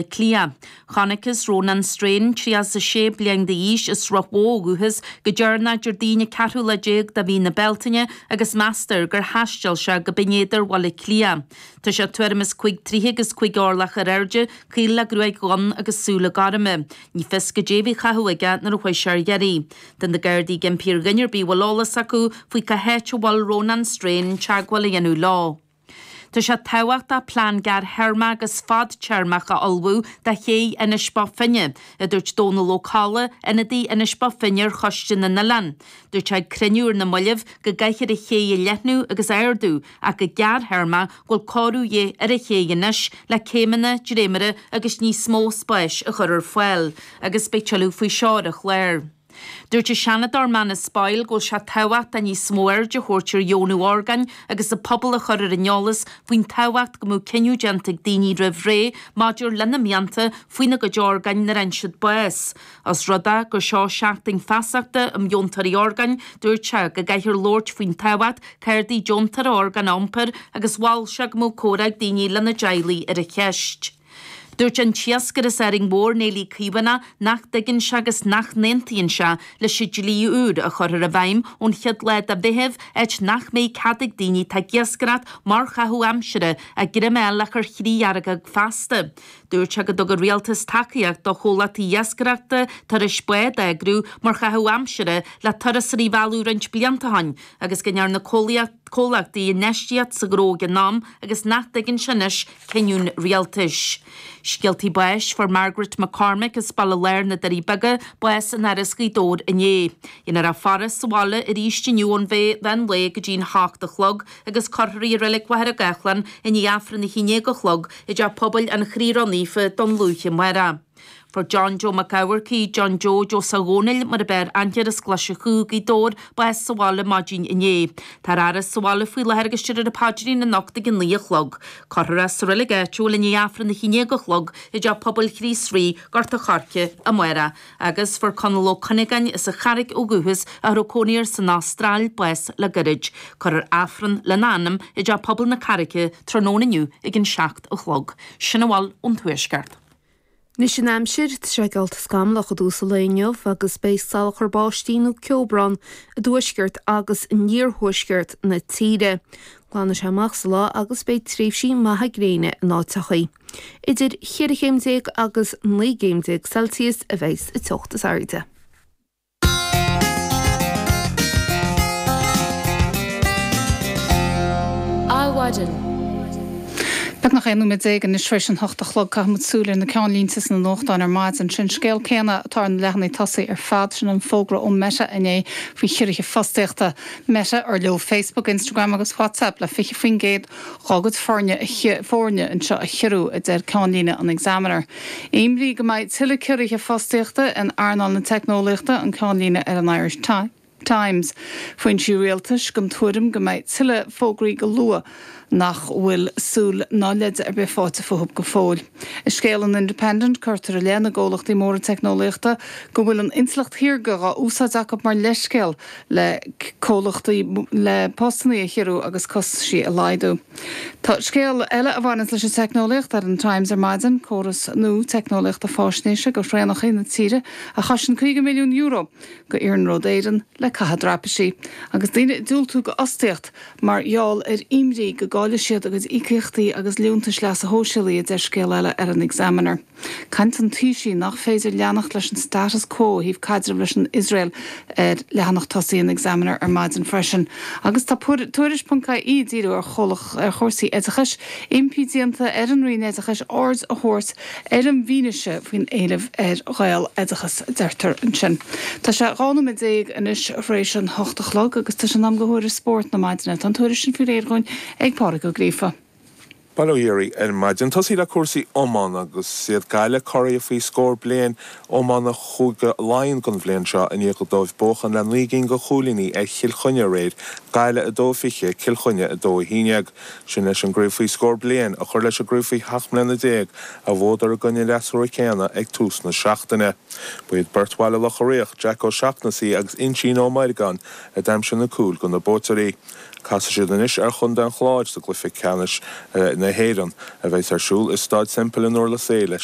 Cliath. Chonacthas Rónán Strain, 36 bliain d'aois, as Sruth Mhó ó dhúchas, go deireanach Déardaoin an ceathrú lá déag de mhí na Bealtaine agus meastar gur thaisteal sé go Binn Éadair Bhaile Átha Cliath. Tá sé tuairim is 5 troithe agus 5 orlach ar airde, caol le gruaig dhonn agus súile gorma. Ní fios goidé a bhí á chaitheamh aige nuair a chuaigh sé ar iarraidh. Tá na Gardaí ag impí ar dhuine ar bith a bhfuil eolas acu faoi cá háit a bhfuil Rónán Strain teagmháil a dhéanamh leo. Tá sé tábhachtach plean gearrthéarmach agus fadtéarmach a ullmhú do ché Inis Bó Finne, a dúirt Dónal Ó Colla, ionadaí Inis Bó Finne ar Choiste na nOileán. Dúirt sé ag cruinniú ar na mallaibh go gcaithfear an ché a leathnú agus a ardú ach go gearrthéarmach go bhfuil cóiriú de dhíth ar an ché anois le céimeanna, dréimire agus níos mó spáis a chur ar fáil. Agus beidh tuilleadh faoi seo ar an chlár. Dúirt an Seanadóir Manus Boyle go bhfuil sé tábhachtach níos mó aird a thabhairt ar dheonú orgáin agus an pobal a chur ar an eolas faoin tábhacht go mbeadh cinneadh déanta ag daoine roimh ré maidir lena mianta faoina gcuid orgáin nuair a fhaigheann siad bás. Os rud é gur seo seachtain feasachta um dheontóirí orgáin, dúirt sé go gcaithfear labhairt faoin tábhacht cártaí deontóra orgán a iompar agus mhol sé go mbeadh comhrá ag daoine lena dteaghlaigh ar an cheist. Dúirt an t-iascaire as Árainn Mhór, Néillí Caomhánach, nach dtuigeann sé agus nach n-aontaíonn sé leis an dlí úr a chuirfear i bhfeidhm ón chéad lá de Mheitheamh, áit nach mbeidh cead ag daoine atá ag iascaireacht mar chaitheamh aimsire a greim a fháil ach ar chriadheargóg feasta. Dúirt sé go dtug an Rialtas tacaíocht do chomhlachtaí iascaireachta turais bád a eagrú mar chaitheamh aimsire le turasóirí a mhealladh roinnt blianta ó shin agus go ndearna comhlachtaí infheistíocht sa ghnó ag an am agus nach dtuigeann sé anois cinniúint rialtais. Scéaltaí báis, Fuair Margaret McCormick as Baile Láir na Doirí Beaga bás in Áras Ghaoth Dobhair inné. Dhéanfar a faire sa bhaile arís inniu ón mheán lae go dtí'n hocht a chlog agus cuirfear í i Reilig Mhachaire Gathlán i ndiaidh Aifreann a haon déag a chlog i dTeach Pobail an Chroí Ró-Naofa Dún Lúiche amárach. Fuair John Joe Mac Eamharcaigh, John Joe Joe Dhónaill mar ab fhearr aithne air as Glaise Chú, Gaoth Dobhair, bás sa bhaile maidin inné. Tá ar fhaire sa bhaile faoi láthair agus déarfar an paidrín anocht ag 9 a chlog. Cuirfear é sa reilig áitiúil i ndiaidh Aifreann 11 a chlog i dTeach Pobail Chríost Rí, Gort a' Choirce, amárach. Agus fuair Conall Ó Cuinneagáin as an Charraic ó dhúchas a raibh cónaí air san Astráil, bás le gairid. Cuirfear Aifreann lena anam i dTeach Pobail na Carraice tráthnóna inniu ag an 7 a chlog. Sin a bhfuil ón Tuaisceart. Anois an aimsir, tá sé geallta scamallach i dtús an lae inniu agus beidh salachar báistí nó ceobhrán i dtuaisceart agus in iarthuaisceart na tíre. Glanfaidh sé amach sa lá agus beidh tréimhsí maithe gréine in áiteachaí. Idir cheithre chéim déag agus 19 gcéim Celsius a bheidh sa teocht is airde. Adhmhaidin. Beagnach 11 nóiméad anois tar éis an hocht a chlog. Caithfidh muid súil ar na ceannlínte sna nuachtáin ar maidin. Sin scéal céanna atá ar na leathanaigh tosaigh ar fad, sin an fógra ó Meta inné faoi chiorruithe fostaíochta. Meta, ar leo Facebook, Instagram agus WhatsApp le 20% dhá gcuid foirne foirne anseo a chiorrú, a deir ceannlíne an Examiner. Imní go mbeidh tuilleadh ciorruithe fostaíochta in earnáil na teicneolaíochta, an ceannlíne ar an Irish Times. Foinsí rialtais den tuairim go mbeidh tuilleadh fógraí go luath nach bhfuil súil ná leide ar bith faighte fúthu go fóill. I scéal an Independent cuirtear i leith na gcomhlachtaí móra teicneolaíochta go bhfuil an intleacht shaorga dhá úsáid acu mar leithscéal le comhlachtaí le postannaí a chiorrú agus costaisí a laghdú. Tá scéal eile a bhaineanns leis an teicneolaíocht ar an Times ar maidin, córas nua teicneolaíochta fáisnéise go thraenachaí na tíre a choisn €50 milliún go Iarnród Éireann le caitheamh draipisí, agus daoine ag diúltú go fhostaíocht mar gheall ar imní go gcaillfidh siad a gcuid íocaíochtaí agus liúntais leasa shóisialaigh, a deir scéal eile ar an Examiner. Caint an Taoisigh nach féidir leanacht leis an status quo ó thaobh caidreamh leis an Iosrael ar leathanach tosaigh an Examiner ar maidin freisin. Agus tá Tuairisc ponc ie ag díriú ar ar chúrsaí oideachais, impí déanta ar an Roinn Oideachais aird a thabhairt ar an bhfianaise faoin éileamh ar Ghaeloideachas, a deirtear ansin. Tá sé 12 nóiméad anois tar éis an hocht a chlog agus tá sé in am go thuairisc spóirt na maidine. Tá an tuairisc sin faoi réir dhúinn ag Pádraig Ó Gríofa. Bail ó Dhia oraibh ar maidin. Tosaí le cúrsaí iomána agus is iad Gaillimh curaidh faoi scór bliain iomána Chúige Laighean don bhliain seo i ndiaidh dóibh buachan le 9 gcinn de chúilíní ar Chill Chainnigh aréir, Gaillimh 2-20, Cill Chainnigh 2-11. Sin leis an gcraobh faoi scór bliain a chur leis an gcraobh faoi sheacht mbliana déag a bhuadar i gcoinne an fhreasúra céanna ag tús na seachtaine. Ba iad beirt Bhaile Locha Riach, Jack Ó Seachnasaigh agus Uinsíonn Ó Meirgeáin a d'aimsigh na cúil do na buaiteoirí. Casfaidh siad anois ar chontae an Chláir sa gcluiche ceannais in. na hÉireann, a bheas ar siúl i Staid Semple in Durlas Éile.